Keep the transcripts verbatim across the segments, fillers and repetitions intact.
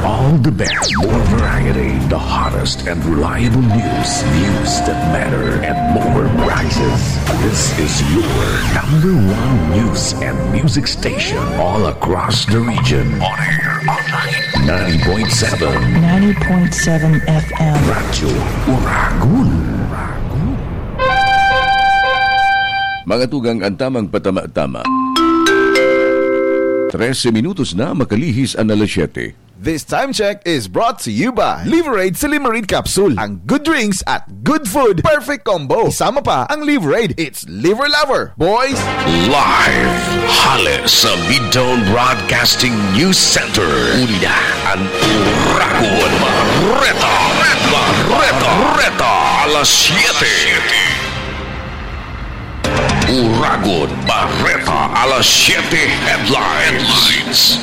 All the best, more variety, the hottest and reliable news, news that matter, and more prizes. This is your number one news and music station all across the region. On air, online, ninety point seven ninety point seven F M. Radyo Uragon. Mga tugang, ang tamang patama-tama. Trese minutos na makalihis an alas siyete. This time check is brought to you by Liverade Silimarid Capsule. Ang good drinks at good food, perfect combo. Isama pa ang Liverade. It's Liver Lover, boys! Live hale sa Midtown Broadcasting News Center. Unida an Uragon Bareta. Bareta. Bareta. Alas siyete. Uragon Bareta, alas siyete headlines.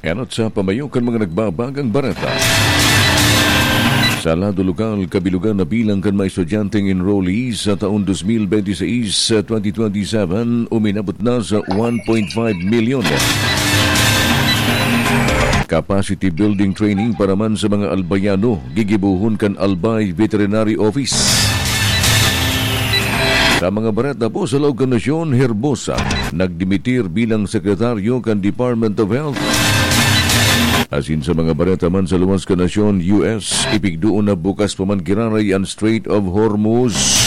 Enot sa pamayo kan mga nagbabagang bareta. Sa lado lokal, kabilugan na bilang kan mga estudyanteng enrollees sa taon dos mil benti seis, twenty twenty-seven, uminabot na sa one point five milyon. Capacity building training para man sa mga albayano, gigibohon kan Albay Veterinary Office. Sa mga bareta po sa laog kan nasyon, Herbosa, nagdimitir bilang sekretaryo kan Department of Health. Asin sa mga bareta man sa luwas kan nasyon, U S, ipigdoon na bukas pa man giraray an Strait of Hormuz.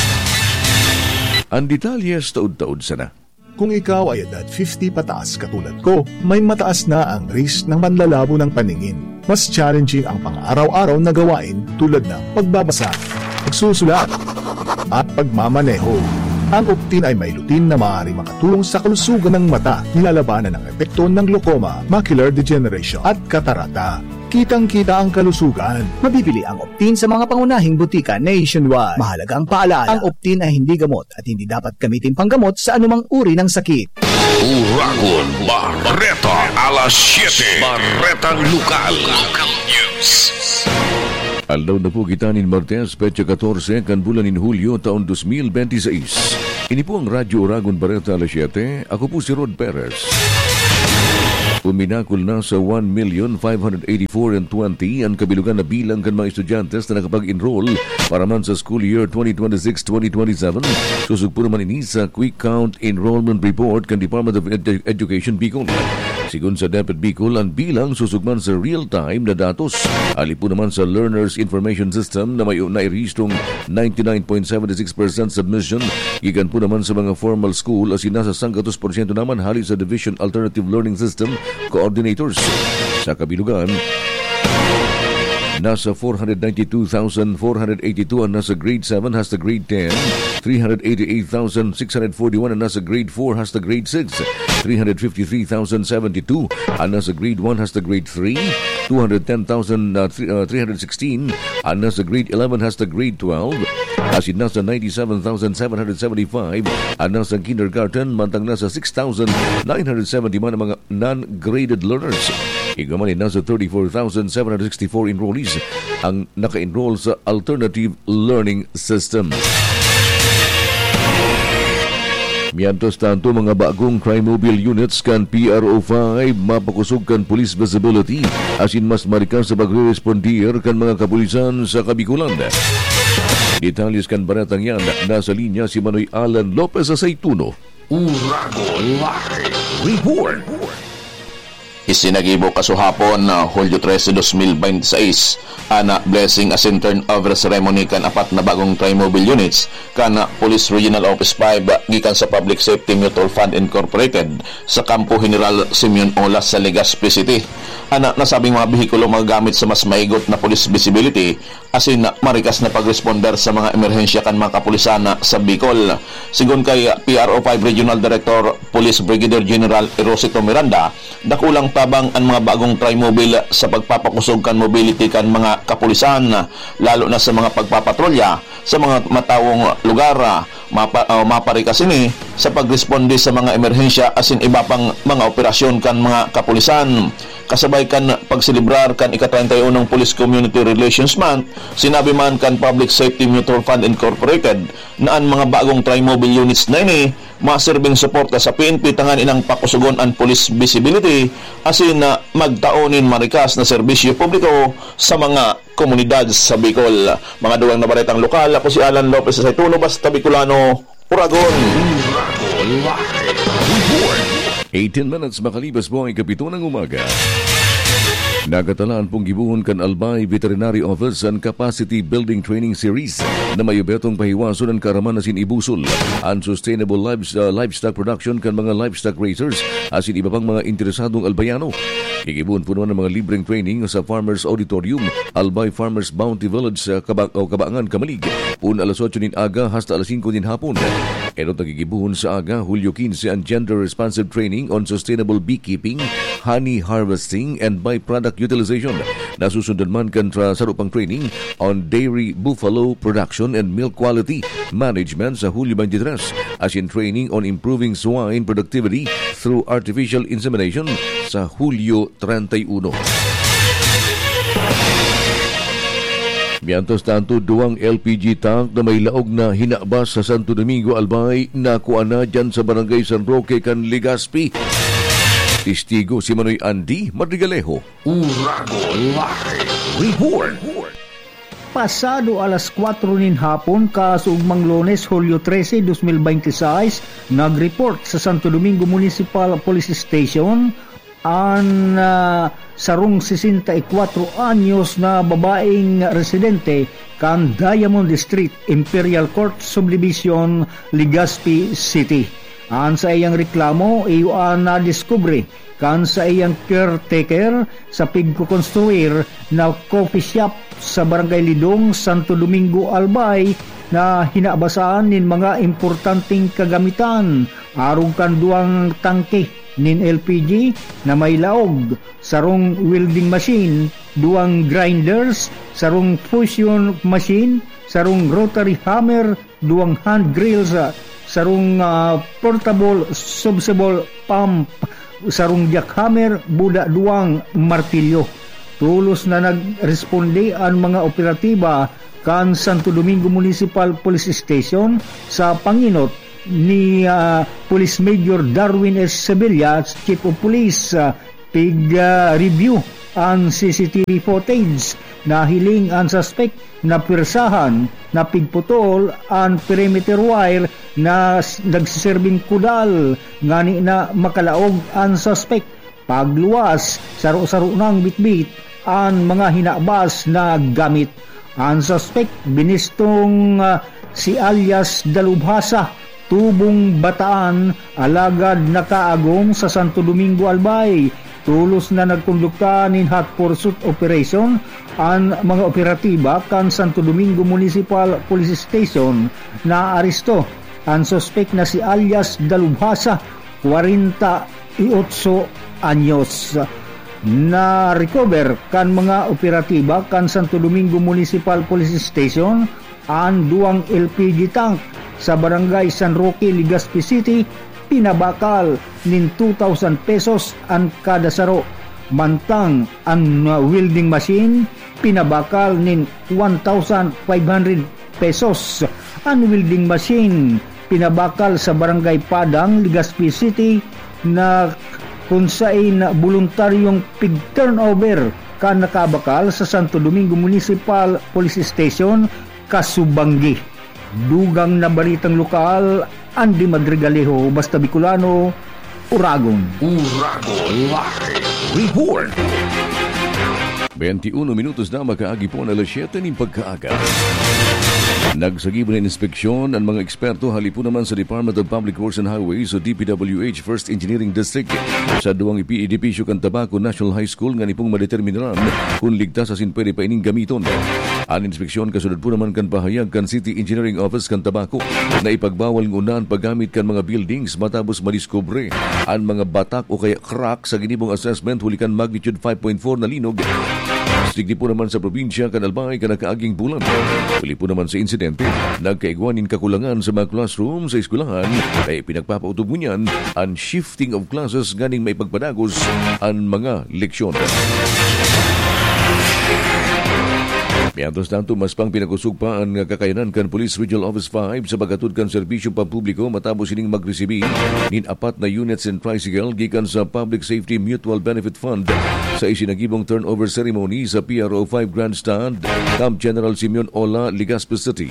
An detalye sa taod-taod sana. Kung ikaw ay edad fifty pataas katulad ko, may mataas na ang risk ng manlalabo ng paningin. Mas challenging ang pang-araw-araw na gawain tulad ng pagbabasa, pagsusulat, at pagmamaneho. Ang Optin ay may lutein na maaaring makatulong sa kalusugan ng mata, nilalabanan ang epekto ng glaucoma, macular degeneration, at katarata. Kitang-kita ang kalusugan. Mabibili ang Optin sa mga pangunahing butika nationwide. Mahalaga ang paalala, ang Optin ay hindi gamot at hindi dapat gamitin panggamot sa anumang uri ng sakit. Uragon Bareta, alas siyete. Baretang Lokal. Local News. Aldaw na po kita nin Martes, petsa katorse kan bulan nin Hulyo, taon dos mil benti seis. Ini po ang Radyo Uragon Bareta, alas siyete. Ako po si Rod Perez. Uminakol na sa one million five hundred eighty-four and twenty an kabilugan na bilang kan mga estudyante na nakapag-enroll para man sa school year twenty twenty-six twenty twenty-seven. Sosog po naman ini sa Quick Count Enrollment Report kan Department of Edu-, Education Bicol. Sigon sa DepEd Bicol, an bilang sosog man sa real-time na datos. Hali po naman sa Learners Information System na may nairehistrong ninety-nine point seven six percent submission gikan po naman sa mga formal school asin nasa sanggatos porsyento naman hali sa Division Alternative Learning System Coordinators. Sa kabilugan, nasa four hundred ninety-two thousand four hundred eighty-two an nasa grade seven hasta grade ten, three hundred eighty-eight thousand six hundred forty-one an nasa grade four hasta grade six, three hundred fifty-three thousand seventy-two an nasa grade one hasta grade three, two hundred ten thousand, uh, three, uh, three hundred sixteen an nasa grade eleven hasta grade twelve, asin nasa ninety-seven thousand seven hundred seventy-five an nasa kindergarten, mantang nasa six thousand nine hundred seventy man ang mga non-graded learners. Igwa man, nasa thirty-four thousand seven hundred sixty-four enrollees ang naka-enroll sa alternative learning system. Mientras tanto, mga bagong Trimobile units kan P R O five mapakosog kan police visibility asin mas marikas sa pagre-respondir kan mga kapulisan sa Kabikulan. Detalles kan baretang yan, nasa linya si Manoy Alan Lopez Aceituno. Uragon Live Report. Isinagibo kasuhapon na Hulyo trese, dos mil benti seis, an blessing asin turnover ceremony kan apat na bagong Trimobile units kan Police Regional Office five gikan sa Public Safety Mutual Fund Incorporated sa Kampo General Simeon Olas sa Legazpi City. An nasabing mga behikulo magagamit sa mas maigot na police visibility asin marikas na pagresponder sa mga emerhensya kan mga kapulisan sa Bicol. Sigon kay P R O five Regional Director Police Brigadier General Erosito Miranda, dakulang tabang an mga bagong Trimobile sa pagpapakosog kan mobility kan mga kapulisan, lalo na sa mga pagpapatrolya sa mga matawong lugar. Mapa-, ah, maparikas ini sa pagresponde sa mga emerhensya asin iba pang mga operasyon kan mga kapulisan. Kasabay kan pagselebrar kan ika-treinta y unong Police Community Relations Month, sinabi man kan Public Safety Mutual Fund Incorporated na an mga bagong Trimobile units na ini masirbing suporta sa P N P tanganing pakusugon an police visibility asin, ah, magtao nin marikas na serbisyo publiko sa mga komunidad sa Bicol. Mga dugang na baretang lokal, ako si Alan Lopez sa Saituno, Basta Bicolano, Uragon. Eighteen minutes makalipas po ang ikapito ng umaga. Nagatalaan pong gibohon kan Albay Veterinary Office an Capacity Building Training Series na may obhetong pahiwason an kaaraman asin ibusol an sustainable lives-, ah, livestock production kan mga livestock raisers asin iba pang mga interesadong Albayano. Gigibohon po naman ang mga libreng training sa Farmers Auditorium, Albay Farmers Bounty Village sa Kaba-, o Kabaangan, Camalig, poon alas otso nin aga hasta alas singko nin hapon. Enot na gigibohon sa aga, Hulyo quince, ang Gender Responsive Training on Sustainable Beekeeping, Honey Harvesting, and Byproduct Utilization. Nasusundan man kan tra-, saro pang training on Dairy Buffalo Production and Milk Quality Management sa Hulyo twenty-three, asin training on Improving Swine Productivity through Artificial Insemination sa Hulyo treinta y uno. Mientras tanto, duwang L P G tank na may laog na hinabas sa Santo Domingo, Albay, nakuha na dyan sa Barangay San Roque kan Legazpi. Testigo si Manoy Andy Madrigalejo. Uragon Live Report. Pasado alas kwatro nin hapon, kaugmang Lunes, Hulyo trese, dos mil bente seis, nag-report sa Santo Domingo Municipal Police Station an, ah, sarong sesenta y kwatro anyos na babaeng residente kan Diamond Street, Imperial Court Subdivision, Legazpi City. An saiyang reklamo iyo an nadiskubre kan saiyang caretaker sa pigkokonstruir na coffee shop sa Barangay Lidong, Santo Domingo, Albay, na hinabasan nin mga importanteng kagamitan, arog kan duwang tangke nin L P G na may laog, sarong welding machine, duwang grinders, sarong fusion machine, sarong rotary hammer, duwang hand grills, ah, sarong, ah, portable submersible pump, sarong jackhammer, buda duwang martilyo. Tolos na nagresponde an mga operatiba kan Santo Domingo Municipal Police Station sa pangenot ni, ah, Police Major Darwin S. Sevilla, Chief of Police. Ah, pig, ah, review an C C T V footage. Nahiling an suspek na pwersahan na pigputol an perimeter wire na s-, nagsiserbing kudal ngani na makalaog an suspek. Pagluwas, saro-saro nang bitbit an mga hinabas na gamit. An suspek, binistong, ah, si alias Dalubhasa, tubong Bataan, alagad nakaagom sa Santo Domingo, Albay. Tolos na nagkondukta nin hot pursuit operation an mga operatiba kan Santo Domingo Municipal Police Station. Naaresto an suspek na si alias Dalubhasa, kwarenta y otso anyos. Na-recover kan mga operatiba kan Santo Domingo Municipal Police Station an duwang L P G tank sa Barangay San Roque, Legazpi City, pinabakal nin two thousand pesos an kada saro, mantang an, uh, welding machine pinabakal nin one thousand five hundred pesos. An welding machine pinabakal sa Barangay Padang, Legazpi City, na kun saen boluntaryong pig-turnover kan nakabakal sa Santo Domingo Municipal Police Station, kasubanggi. Dugang na baretang lokal, Andy Madrigalejo, Basta Bicolano, Uragon. Uragon Live Report. Twenty-uno minutos na makaagi po na alas siyete nin pagkaaga. Nagsagibo na inspeksyon ang mga eksperto hali po naman sa Department of Public Works and Highways o D P W H First Engineering District sa duwang ipi-, edipisyo kan Tabaco National High School ngani pong madeterminaran kun ligtas asin pwede pa ining gamiton. An inspeksyon kasunod po naman kan pahayag kan City Engineering Office kan Tabaco na ipagbawal nguna an paggamit kan mga buildings matapos madiskubre an mga batak o kaya crack sa ginibong assessment huli kan magnitude five point four na linog. Digdi po naman sa probinsya kan Albay kan nakaaging bulan. Huli po naman sa insidente, nagkaigwa nin kakulangan sa mga classroom sa eskwelahan, kaya pinagpapautob ngunyan an shifting of classes nganing maipagpadagos an mga leksyon. Mientras tanto, mas pang pinakosog pa an kakayanan kan Police Regional Office five sa paghatod kan serbisyo pampubliko matapos ining magresibi nin apat na units and tricycle gikan sa Public Safety Mutual Benefit Fund sa isinagibong turnover ceremony sa P R O five Grandstand, Camp General Simeon Ola, Legazpi City.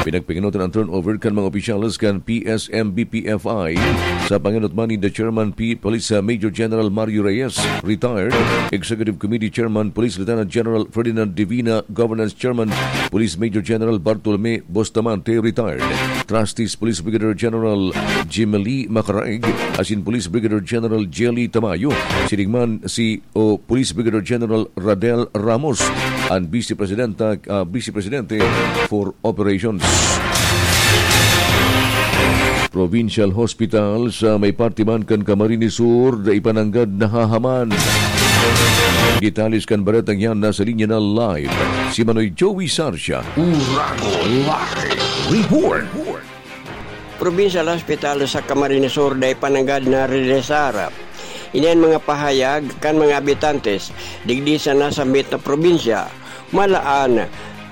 Pinagpangenotan ang turnover kan mga opisyales kan P S M B P F I sa pangenot man ni the Chairman P Police, uh, Major General Mario Reyes, retired, Executive Committee Chairman Police Lieutenant General Ferdinand Divina, Governance Chairman Police Major General Bartolome Bustamante, retired, Trustees Police Brigadier General Jimely Macaraig, asin Police Brigadier General Jelly Tamayo, sining man si o Police Brigadier General Radel Ramos, ang Vice Presidenta, ah, Vice Presidente for Operations. Provincial Hospital sa may parte man kan Camarines Sur, dai pa nanggad nahahaman. Detalles kan baretang yan nasa linya na live si Manoy Joey Sarsia. Uragon Live Report. Provincial Hospital sa Camarines Sur dai pa nanggad nareresar. Ini an mga pahayag kan mga habitantes digdi sa nasambit na probinsya. Malaan,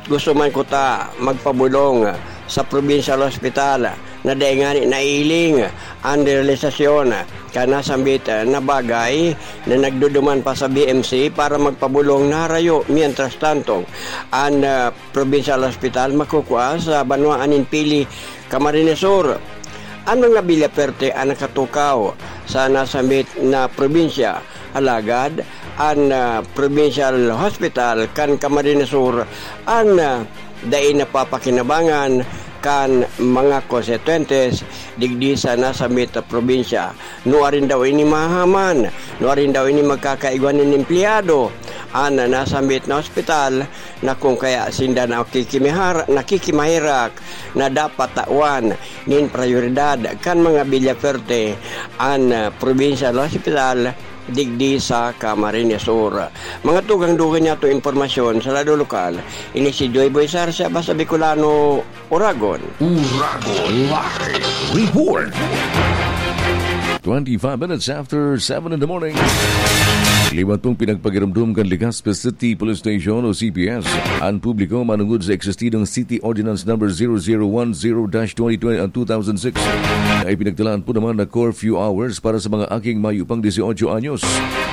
gusto man kuta magpabolong sa Provincial Hospital na dai ngani naihiling an realisasyon kan nasambit na bagay na nagduduman pa sa B M C para magpabolong na harayo. Mientras tanto, an, ah, Provincial Hospital makukua sa banwaan nin Pili, Camarines Sur. An mga Villaferte an nakatukaw sa nasambit na probinsya, alagad an, ah, Provincial Hospital kan Camarines Sur an, ah, dai napapakinabangan kan mga konstituyentes digdi sa nasambit na probinsya. Nuarin daw ini mahaman? Nuarin daw ini magkakaigwa nin empleyado an nasambit na ospital na kung kaya sinda nakikimihar-, nakikimaherak na dapat tawan nin prayoridad kan mga Villaferte an, ah, provincial hospital digdi sa Camarines Sur. Mga tugang dugang niyato impormasyon sa lado lokal, ini si Joy Boy Sarsa, basta Bicolano, Uragon. Uragon Live Report. Twenty-five minutes after seven in the morning. Liwat pong pinagpagirumdum kan Legazpi City Police Station o C P S an publiko manungod sa existidong City Ordinance Number zero zero one zero dash twenty twenty and two thousand six na ipinagtalaan po naman na curfew hours para sa mga aking mayo pang dieciocho anyos.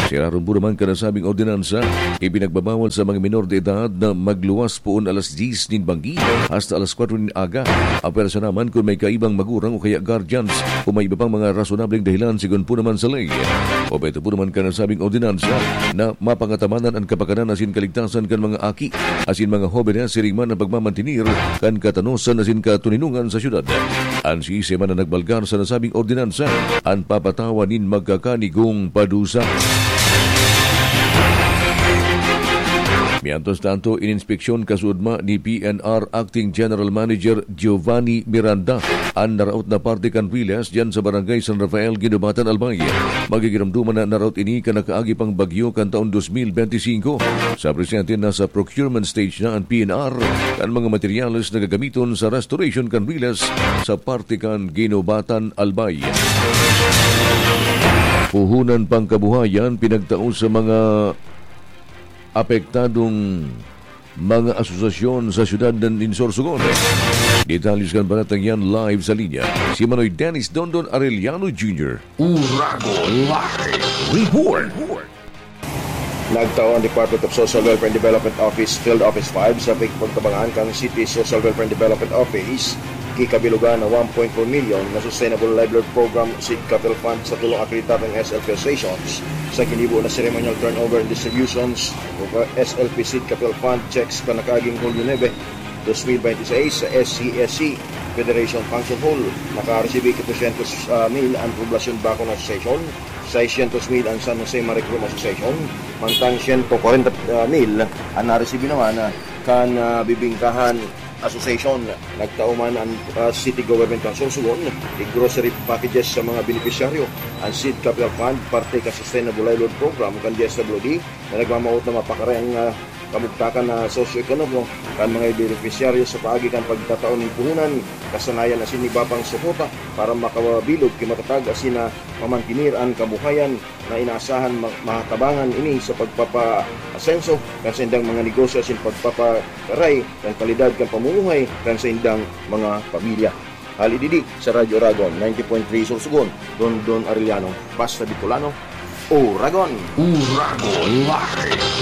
Sa irarom po naman kan nasabing ordinansa, ipinagbabawal sa mga minor de edad na magluwas poon alas diyes nin banggi hasta alas kwatro nin aga. Ang pwersa naman kun may kaibang magurang o kaya guardians o may iba pang mga rasonableng dahilan sigon po naman sa ley. Obheto po naman kan nasabing ordinansa na mapangatamanan an kapakanan asin kaligtasan kan mga aki asin mga hobenes, siring man ang pagmamantenir kan katanosan asin katoninongan sa syudad. An siisay man na nagbalgar sa nasabing ordinansa, an papatawan nin magkakanigong padusa. Mientras tanto, ininspeksyon kasuodma ni P N R Acting General Manager Giovanni Miranda an naraot na parte kan Riles diyan sa Barangay San Rafael, Guinobatan, Albay. Magigiramduman na naraot ini kan nakaagi pang bagyo kan taon dos mil benti singko. Sa presente, nasa procurement stage na an P N R kan mga materyales na gagamiton sa restoration kan Riles sa parte kan Guinobatan, Albay. Puhunan pang kabuhayan pinagtao sa mga apektadong mga asosasyon sa siyudad nin Sorsogon. Detalles kan baretang yan live sa linya, si Manoy Dennis Dondon Arellano Junior. Uragon Live Report. Nagtao ang Department of Social Welfare and Development Office Field Office five sa pagpagtabangan kan City Social Welfare and Development Office ki kabilugan na one point four million na Sustainable Livelihood Program Seed Capital Fund sa tulong akreditadong S L P stations sa ginibo na ceremonial turnover and distributions of S L P Seed Capital Fund checks kan nakaaging Hulyo nuebe, dos mil benti seis sa S C S C Federation Function Hall. Nakaresibi ki dosyentos, ah, mil ang Poblacion Bacono Association, seisyentos mil ang San Jose Maricrom Association, mantang siyento kwarenta, ah, mil ang naresibi naman, ah, kan, ah, Bibingkahan Association. Nagtao man ang, ah, City Government kan Sorsogon ki grocery packages sa mga benepisyaryo. Ang Seed Capital Fund, parte kan Sustainable Livelihood Program kan D S W D, na nagmamawot na mapakaray ang, ah, kabugtakan na sosyo-ekonomiko kan mga benepisyaryo sa paagi kan pagtatao nin puhunan, kasanayan asin iba pang suporta para makabilog ki matatag asin na mamantener an kabuhayan na inaasahan ma-, mahatabangan ini sa pagpapaasenso kan saindang mga negosyo asin pagpapakaray kan kalidad kan pamumuhay kan saindang mga pamilya. Hali didi sa Radyo Oragon, ninety point three Sorsogon, Don Don Arellano, basta Bicolano, Oragon. Oragon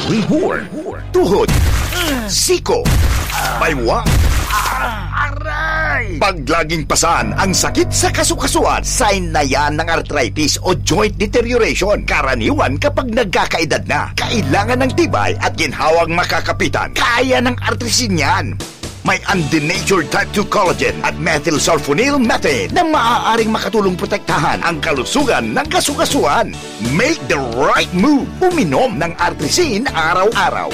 Live Report. Tuhod, siko, baywang, aray. Pag laging pasan ang sakit sa kasukasuan, sign na yan ng arthritis o joint deterioration. Karaniwan kapag nagkakaedad na, kailangan ng tibay at ginhawang makakapitan. Kaya ng Artrisin yan. May undenatured type two collagen at methylsulfonyl methane na maaaring makatulong protektahan ang kalusugan ng kasukasuan. Make the right move. Uminom ng Artrisin araw-araw.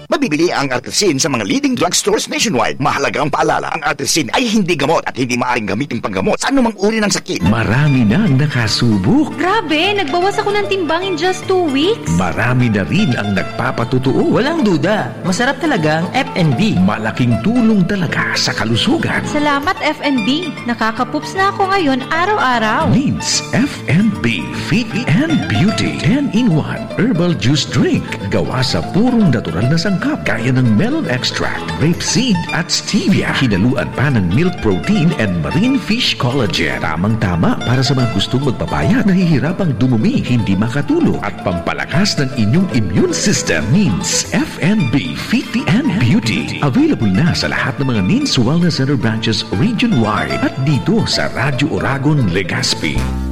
Mabibili ang Artrisin sa mga leading drugstores nationwide. Mahalagang paalala, ang Artrisin ay hindi gamot at hindi maaaring gamitin panggamot sa anumang uri ng sakit. Marami nang nakasubok. Grabe, nagbawas ako ng timbang in just two weeks. Marami na rin ang nagpapatotoo. Walang duda, masarap talaga ang F and B. Malaking tulong talaga sa kalusugan. Salamat, F and B. Nakakapups na ako ngayon araw-araw. Needs F and B Fit and Beauty ten-in-one Herbal Juice Drink. Gawa sa purong natural na sangkap gaya ng melon extract, rape seed at stevia. Hinaluan pa ng milk protein and marine fish collagen. Tamang-tama para sa mga gustong magpapayat, nahihirapang dumumi, hindi makatulog, at pampalakas ng inyong immune system. Needs F and B Fit and Beauty. Available na sa lahat ng mga Needs Wellness Center branches region-wide at dito sa Radyo Oragon, Legazpi.